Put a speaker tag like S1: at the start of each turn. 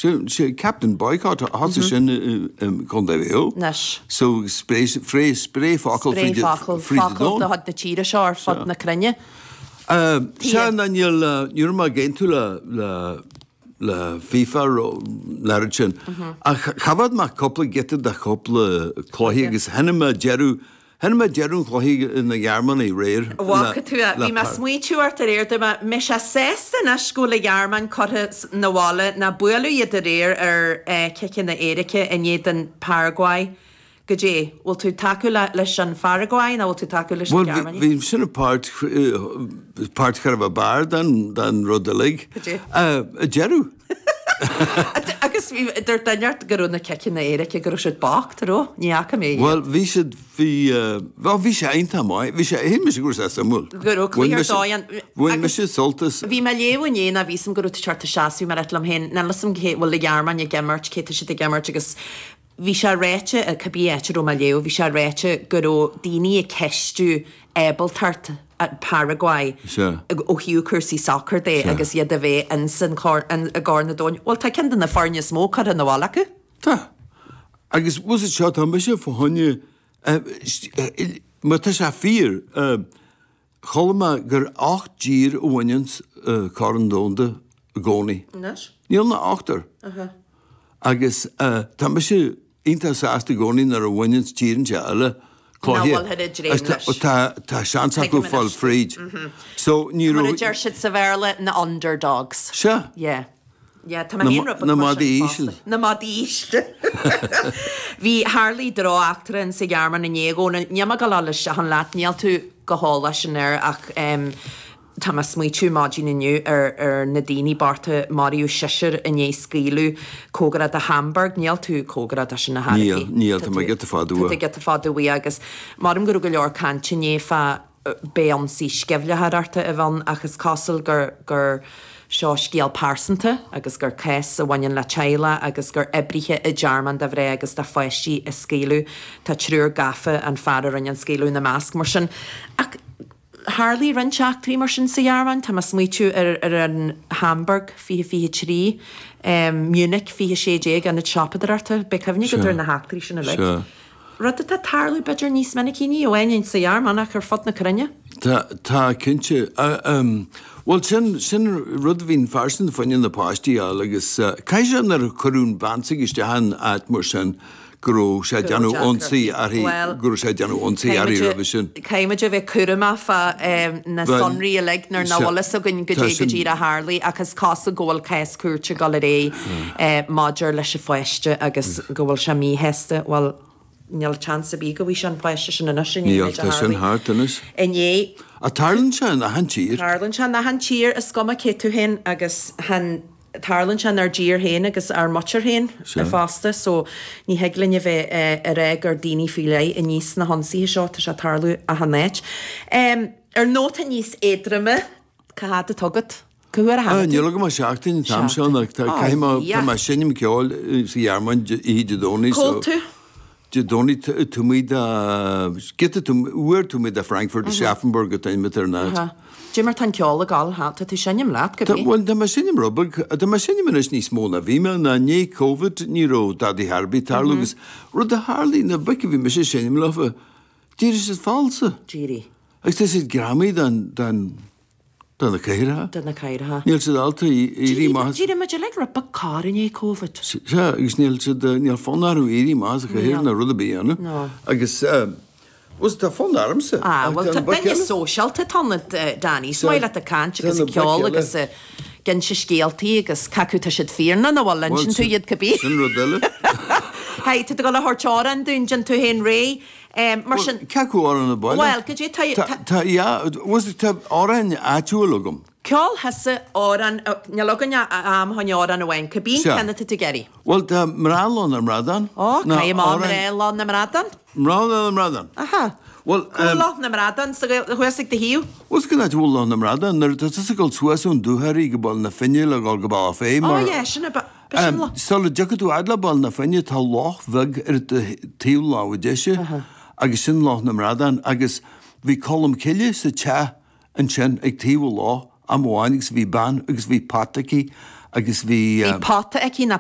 S1: Sé Captain Boycott, thosaigh sin i gContae Mhaigh Eo.
S2: Anois.
S1: So spréigh spréigh focal
S2: fríd
S1: fríd an
S2: focal
S1: domhan.
S2: de chuid na tíre seo ar fud na cruinne.
S1: Sea, ná níl ní raibh mé ag aontú le le le FIFA an oiread sin. Ach choimhéad mé cúpla giota de chúpla cluiche agus chonaic mé deireadh Chonaic mé deireadh an chluiche na Gearmánaigh aréir.
S2: Bhfaca tú é. Bhí mé ag smaointiú ort aréir, dúirt mé, mbeidh sé sásta anois go bhfuil an Ghearmáin curtha 'na bhaile, ná buaileadh iad aréir ar ciceanna éirice in éadan Paraguay. Goidé, bhfuil tú ag tacú leis an Pharaguay nó bhfuil tú ag tacú leis na
S1: Bhuel,
S2: Gearmánaigh?
S1: bhí sin an páirt, páirt cha raibh ab fhearr den, den rud uilig.
S2: Goidé?
S1: Deireadh.
S2: Agus bhí, dúirt duine ort go raibh na ciceanna éirice, go raibh siad bocht, raibh? Ní fhaca mé iad.
S1: Bhuel, bhí siad, bhí, bhuel, bhí sé iontach maith, bhí sé, shíl mise go raibh sé suimiúil.
S2: Go raibh cluiche ar dóigh ann.
S1: Bhain mise sult as.
S2: Bhí mé ag léamh inné ná bhí 'fhios a'm go raibh tú ag teacht isteach, bhí mé ag ráit liom féin, níl 'fhios a'm cé, bhfuil an Ghearmáin ag imirt, cé tá siad ag imirt agus bhí sé ráite, cibé áit a raibh mé ag léamh, bhí sé ráite go raibh daoine ag ceistiú ábaltacht Paraguay ó thaobh cúrsaí sacair de agus iad a bheith ins an i gCorn an Domhain. Bhuel, tá ceann de na foirne is mó curtha 'na bhaile acu.
S1: Tá. Agus bhfuil 'fhios a'd seo, tá mise fá choinne, má tá sé fíor, chuala mé gur 8 dtír a bhaineanns Corn Domhanda i gcónaí.
S2: Anois?
S1: Níl ach ochtar. Agus tá mise iontach sásta i gcónaí nuair a bhaineanns tír inteacht eile
S2: cluiche. Nach bhfuilthear ag dréim leis.
S1: Tá tá seans acu fáil fríd. So ní
S2: Mar a
S1: raibh.
S2: deir siad sa Bhéarla, na underdogs.
S1: Sea.
S2: Yeah. Yeah, tá mé féin rud beag
S1: Na
S2: mar sin
S1: madaí
S2: fosta.
S1: íseal.
S2: Na madaí ísle. Bhí tharlaigh drocheachtra in sa Ghearmáin inné a Dhónaill. Níl mé ag dul a dhul isteach ann leat, níl tú go heolach sin air ach em, Tá mé ag smaoitiú maidin inniu ar ar na daoine bochta, maraíodh seisear i ndiaidh scaoileadh cóngarach do Hamburg. Níl tú cóngarach do sin ar chor ar
S1: Níl,
S2: bith.
S1: níl,
S2: Tá
S1: tá mé
S2: tú
S1: giota fada
S2: tá tú
S1: uaidh.
S2: giota fada uaidh agus maram go raibh go leor cainte inné fá b'é ionsaí sceimhlitheoireachta a bhí ann ach is cosúil gur gur seo scéal pearsanta agus gur cás a bhaineann le teaghlach agus gur oibrithe i dtearmann do mhná agus do pháistí a scaoileadh. Tá triúr gafa, an fear a rinne an scaoileadh ina measc. Mar sin, ach Tharlaigh roinnt eachtraí mar sin sa Ghearmáin, tá mé ag smaoitiú ar ar an Hamburg 2023, Munich 2016, ionad siopadóireachta, beidh cuimhne agat ar na heachtraí sin uilig.
S1: Sea.
S2: Rud atá ag tarlú b'fhéidir níos minicí, ní amháin sa Ghearmáin ach ar fud na cruinne.
S1: Tá, tá, cinnte. Bhuel, sin, sin rud a bhíonn fairsing fá choinne na páistí a fháil agus caithfidh sé nuair a cuireadh an bhean s'aige isteach in áit mar sin, go raibh sé ag déanamh ionsaí uirthi, go raibh sé ag déanamh ionsaí uirthi roimhe sin.
S2: Caithfidh muid a bheith cúramach fá na sonraí uilig nuair nach bhfuil fhios againn goidé go díreach a tharlaigh ach is cosúil go bhfuil cás cúirte ag dul ar aghaidh maidir leis an pháiste agus go bhfuil sé míshásta. Bhuel, níl seans ar bith go bhfaighidh sé an páiste sin anois i ndiaidh an
S1: Níl,
S2: méid a
S1: tá sin
S2: tharlaigh
S1: thart anois.
S2: inné.
S1: Ach tarlaíonn sé in achan tír.
S2: Tarlaíonn sé in achan tír, is cuma cé tú féin agus chan. Tarlaíonn sé inár dtír féin agus ár muintir féin fosta so ní thig linn a bheith ag rá gur daoine faoi leith a níos na hionsaithe seo, tá sé ag tarlú achan áit. Ar nóta níos éadroime, cá fhad atá agat? Cá huair a tháinig tú?
S1: Níl agam ach seachtain an t-am seo, caithfidh mé, tá mé ag seinm ceoil sa Ghearmáin oíche Dé Domhnaigh so.
S2: Cá bhfuil tú?
S1: Dé Domhnaigh taobh amuigh de, giota uair taobh amuigh de Frankfurt, Aschaffenburg an t-ainm atá ar an áit.
S2: Dé mar tá an ceol ag gabháil, ha, tá tú ag seinm leat, go
S1: bhí? Bhuel, tá mé ag seinm rud beag, tá mé ag seinm anois níos mó ná bhí mé, ná i ndiaidh Covid ní raibh dadaí ar bith ag tarlú agus rud a tharlaigh, na boic a bhí mise ag seinm leofa, d'éirigh siad falsa.
S2: D'éirigh.
S1: Agus tá siad greamaithe den, den, De na cathaoireacha.
S2: De na cathaoireacha.
S1: Níl siad ábalta éirí amach as.
S2: D'éirigh muid uilig rud beag corr i ndiaidh Covid.
S1: Sea, agus níl siad, níl fonn orthu éirí amach as an chathaoir ná rud ar bith a dhéanamh.
S2: No.
S1: Agus, bhuel, tá fonn ormsa.
S2: Ah, bhuel, tá duine sóisialta atá ionat, Danny. Is maith leat ag caint agus ag ceol agus ag inse scéaltaí agus cé acu tá siad fíor nó nach bhfuil, insíonn tú iad cibé.
S1: Sin rud eile.
S2: Hey, tá tú ag dul a thabhairt amhrán dúinn, déan tú féin réidh. Mar sin.
S1: Cé acu amhrán ab áil
S2: leat? Bhuel, goidé tá.
S1: Tá, yeah, bhuel, tá amhráin áitiúil agam.
S2: Ceol thusa amhrán, níl againn ach am chun amhrán amháin, cibé an ceann atá tú ag iarraidh.
S1: Bhuel, tá Mná Loch na mBradán.
S2: Ó, caithfidh mé Mná Loch na mBradán.
S1: Mná Loch na mBradán.
S2: Aha.
S1: Bhuel,
S2: Cá bhfuil Loch na mBradán sa Ghael, thuas ag do thaobh?
S1: Bhuel, cén áit a bhfuil Loch na mBradán, nuair atá tusa ag dul suas ón Dúchoraidh go Baile na Finne le dhul go Bealach Féich
S2: mar. Ó, yeah, sin a.
S1: Sula dtiocfaidh tú fhad le Baile na Finne tá loch bheag ar do thaobh láimhe deise agus sin Loch na mBradán agus bhí Colm Cille sa teach ansin ag taobh an loch am amháin agus bhí bean agus bhí pota aici agus bhí.
S2: Bhí pota aici nó.